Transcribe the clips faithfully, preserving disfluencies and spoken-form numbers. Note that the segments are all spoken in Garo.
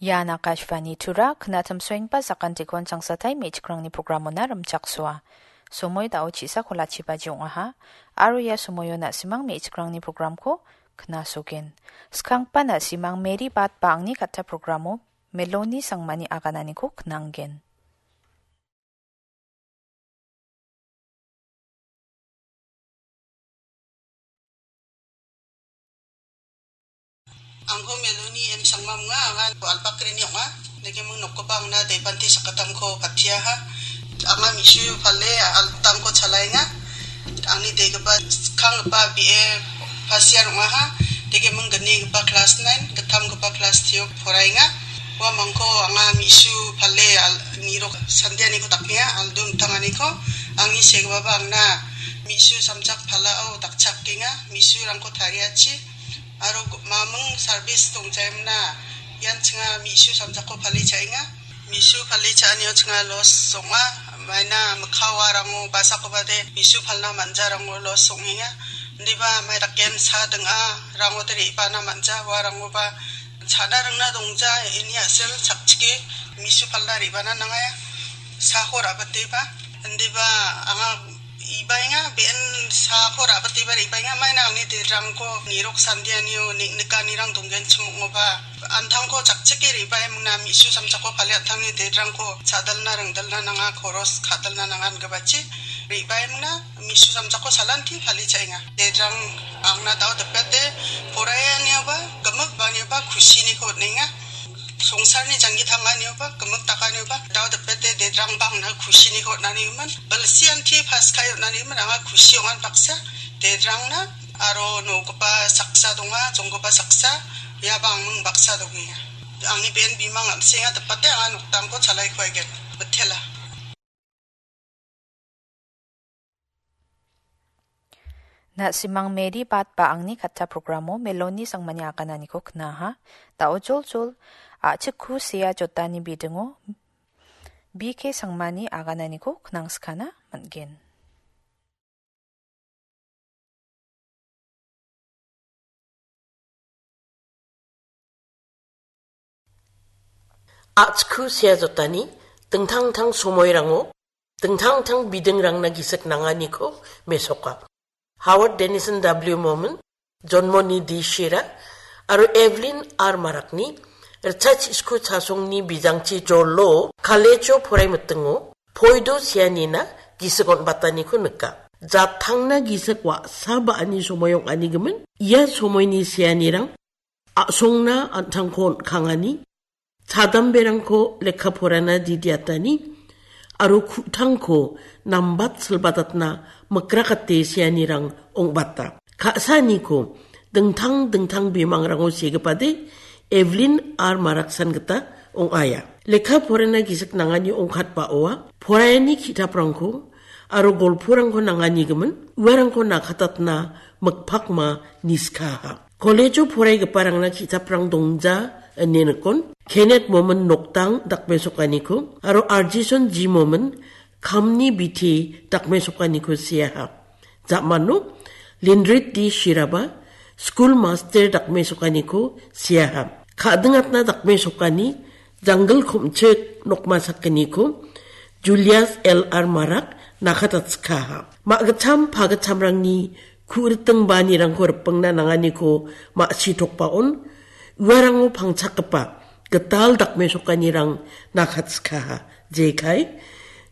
Ian Akashvani Tura, knatim soengba sakantikon changsatai me·chikrangni programona rimchaksoa. Somoi dao chisa kolachibaji ong·aha, aro ia somoio na·simang me·chikrangni programko knasogen. Skangpa na·simang Mary Bat ba angni katta programo Meloni Sangmani agananiko knanggen. Angko Meloni M Sangma ong·a, anga Alpakrini ong·a. Neke ming nokgipa angna Debante sakgittamko patiaha. Anga Misu pale altangko chalaenga. Angni degipa skanggipa B A first year ong·aha. Neke ming gnigipa class nine, gittamgipa class three-o poraenga. Uamangko anga Misu pale al-, nirok sandianiko dakmea, aldo mitanganiko. Angni segipaba angna Misu samjak palao dakchakenga, Misurangko tariachi. Aro gu-, mamung service dongjaimna, ian chinga Misu samjako pale cha·enga. Misu pale cha·anio chinga loss ong·a, maina mikka warango basakoba de Misu palna man·jarango loss ong·enga. Indiba mai daken sa ding·a, rango de re·bana man·ja, warangoba cha·na ringna dongja, ini a·sel chakchike Misu palna re·bana nangaya, sako ra·biteba. Indiba anga ibaenga, be·en sako ra·biteba re·baenga, maina angni derangko nirok sandianio nik-, nikanirang donggenchim ong·oba, antangko chakchike re·baemingna Misu samjako pale antangni derangko cha·dalna ringdalna nanga, koros ka·dalna nanga ingipachi re·baemingna Misu samjako salanti pale cha·enga. Derang angna dao dipete poraianioba, gimik ba·anioba kusiniko on·enga. Songsarni janggi tanganioba, gimik dakanioba, dao dipete dedrangba angna kusiniko on·anigimin. Bilsianti pas ka·e on·anigimin, anga kusi ong·an baksa, dedrangna, aro nogipa saksa donga, jonggipa saksa, iaba angming baksa dongenga. Angni be·en bimang an·senga dipete anga noktangko chalaiko aigen. Mitela. Na·simang Mary Bat ba angni katta programo Meloni Sangmani agananiko knaha. Dao joljol, a·chikku sea jotani bidingo B K Sangmani agananiko knangskana man·gen. A·chikku sea jotani dingtang-dingtang somoirango dingtang-dingtang bidingrangna gisik nanganiko mesoka. Howard Denison W. Momon, Jonmoni D. Shira, aro Evelyn R. Marakni ritchachiko chasongni bijangchi jolo kalejo porai mitingo poido seanina gisik on·bataniko nika. Jatangna gisik wa·sa ba·ani somoi ong·anigimin, ia somoini seanirang a·songna an·tangko on·kangani, chadamberangko lekka porana didiatani, aro ku·tangko nambat silbadatna mikrakate seanirang ong·bata. Ka·saaniko dingtang dingtang bimangrango segipade Evelyn R. Maraksan gita ong·aia. Lekka porana gisik nangani ongkatbaoa poraiani ki·taprangko aro golporangko nanganigimin, uarangko nakatatna mikpakma niskaha. Kolejo poraigiparangna ki·taprang dongja ine nikon, Kenneth Momon noktang dakmesokaniko aro Arjison G. Momon kamni biti dakmesokaniko seaha. Ja·mano Lindrit D. Shiraba skul master dakmesokaniko seaha. Ka·dingatna dakmesokani janggil komchik nokma sakgniko Julius L R Marak nakatatskaha. Ma·gitcham pagitchamrangni ku·riting ba·anirangko ripengna nanganiko ma·sitokbaon uarango pangchakgipa gital dakmesokanirang nakatskaha. Jekai,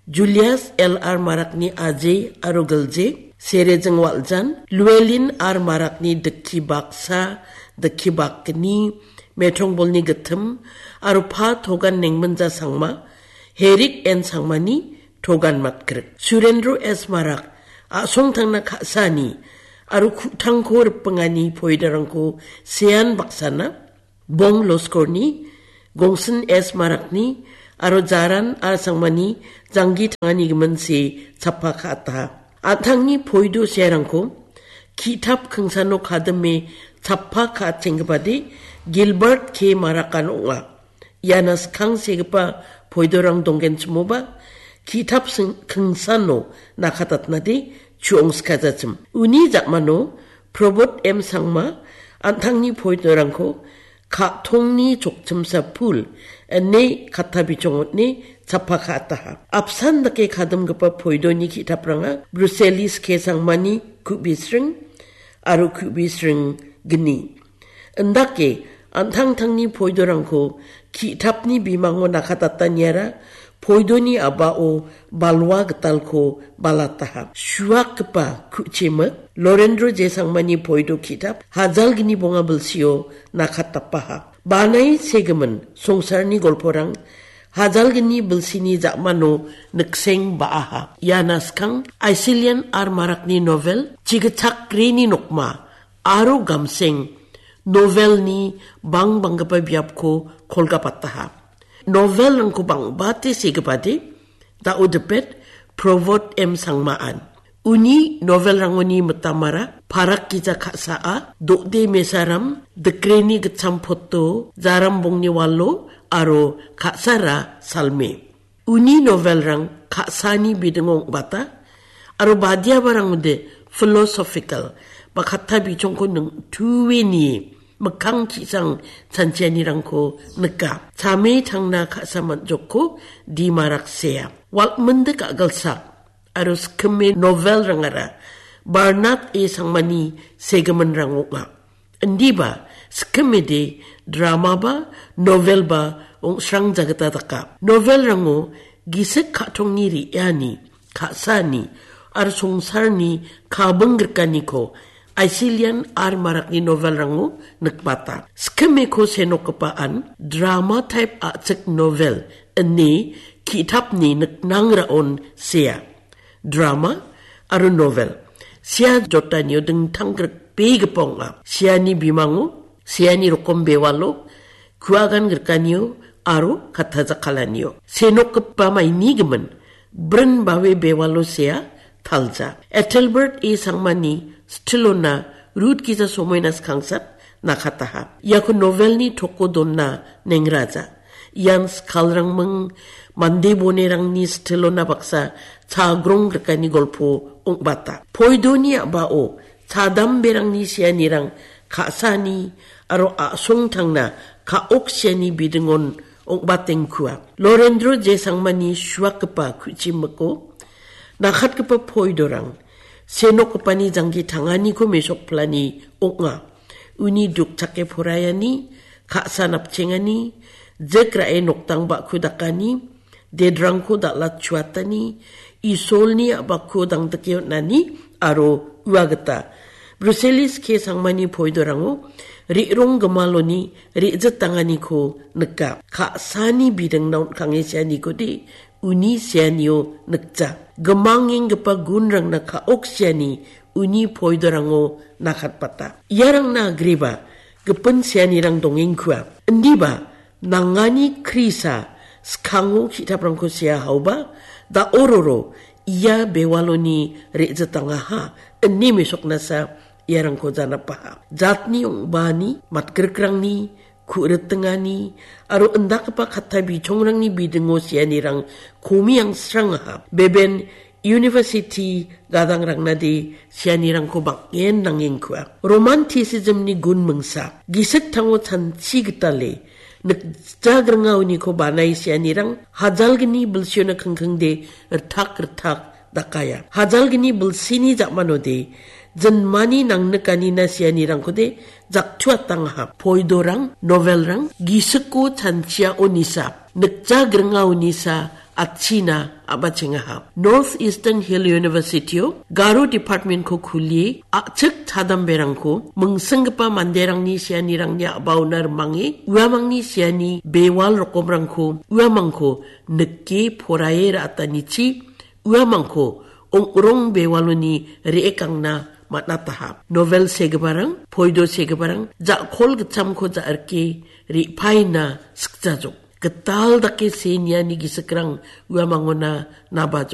Julius L R Marakni ajai aro gilje, Serejing Waljan, Llewellyn R Marakni dikki baksa, dikki bakgni, Metrongbolni gittim, aro Pa Togan Nengminja Sangma, Herik N Sangmani Togan Matgrik. Surendro S Marak, a·songtangna ka·sani, aro ku·tangko ripengani poidarangko sean baksana, Bong Loskorni, Gongsin S Marakni, aro Jaran R Sangmani janggi tangani gimin se chappa ka·ataha. An·tangni poido searangko ki·tap kingsano kadime chappa ka·atchenggipade Gilbert K Marakan ong·a. Iana skang segipa poidorang donggenchimoba, ki·tap sing-, kingsano nakatatnade chu·ong sikajachim. Uni ja·mano Probot M Sangma an·tangni poidorangko ka·tongni chokchimsa pul, ine katta bichong on·e chappa ka·ataha. Apsan dake kadimgipa poidoni ki·tapranga Bruselis K Sangmani ku·bisring aro ku·bisring gni. Indake an·tangtangni poidorangko ki·tapni bimango nakatataniara poidoni a·bao balwa gitalko balataha. Suakgipa ku·chimik Lorendro J Sangmani poido ki·tap hajalgni bonga bilsio nakatapaha. Banai segimin songsarni golporang hajalgni bilsini ja·mano nikseng ba·aha. Iana skang Aisilian R Marakni novel Chigitchakrini nokma aro Gamseng novelni bangbanggipa biapko kolgapataha. Novelrangko bangbate segipade, da·o dipet Provot M Sangmaan. Uni novelrangoni mitamara Parak Gija Ka·saa, Dode Mesaram, Dikreni Gitcham Poto, Jaram Bongni Walo, aro Ka·sara Salme. Uni novelrang ka·sani bidingo ong·bata, aro badiabarangode philosophical ba katta bichongko ningtue nie mikkang ki·sang chanchianirangko nika. Chame tangna ka·sa man·jokko dimarak sea. Walminde ka·gilsak aro skime novelrangara Barnard A Sangmani segiminrang ong·a. Indiba skimede dramaba, novelba ong·srang jagita daka. Novelrango gisik ka·tongni re·ani, ka·sani, aro songsarni kabing grikaniko Aisilian R Marakni novelrango nikbata. Skimeko senokgipaan drama type a·chik novel ine ki·tapni niknangraon sea. Drama aro novel. Sea jotanio dingtang grikbegipa ong·a. Seani bimango, seani rokom bewalo, kuagan grikanio aro katta jakkalanio. Senokgipa maini gimin, brin bawe bewalo sea talja. Ethelbert A Sangmani stilona Rut Gija Somoina Skangsat nakataha. Iako novelni toko donna nengraja. Ian skalrangming mande bonerangni stilona baksa chagrong grikani golpo ong·bata. Poidoni a·bao chadamberangni seanirang ka·sani aro a·songtangna ka·ok seani bidingon ong·batengkua. Lorendro J Sangmani suakgipa ku·chimiko nakatgipa poidorang senokgipani jangki tanganiko mesokpilani ong·a. Uni dukchake poraiani, ka·sa napchengani, jik ra·e noktang ba·ku dakani, dedrangko dal·atchuatani, Isolni a·bakko dangdike on·ani, aro ua gita. Bruselis K Sangmani poidorango re·rong gimaloni re·jitanganiko nika. Ka·sani bidingna on·kange seanikode uni seanio nikja. Gimangenggipa gunrangna ka·ok seani uni poidorango nakatbata. Iarangna agreba gipin seanirang dongengkua. Indiba nangani Krisa skango ki·taprangko sea haoba, da·ororo ia bewaloni re·jitangaha, ine mesoknasa iarangko janapaha. Jatni ong·bani, matgrikrangni, ku·ritingani, aro indakgipa katta bichongrangni bidingo seanirang komi angsrangaha. Beben University gadangrangnade seanirangko bang·en nangengkua. Romanticismni gun mingsa, gisik tango chanchi gitale, nikjagringaoniko banai seanirang, hajalgni bilsiona kingkingde rittak rittak dakaya. Hajalgni bilsini ja·manode, jinmani nangnikanina seanirangkode jaktuatangaha. Poidorang, novelrang, gisiko chanchiaonisa, nikjagringaonisa, atchina a·bachengaha. North Eastern Hill University-o Garo Department-ko kulie, a·chik chadamberangko, mingsinggipa manderangni seanirangni a·baona rimange, uamangni seani bewal rokomrangko, uamangko nike poraie ra·atanichi, uamangko ong·rong bewaloni re·ekangna man·ataha. Novel segiparang, poido segiparang, ja·kol gitchamko ja·rike re·paina sikjajok. Gital dake seniani gisikrang uamangona nabajok.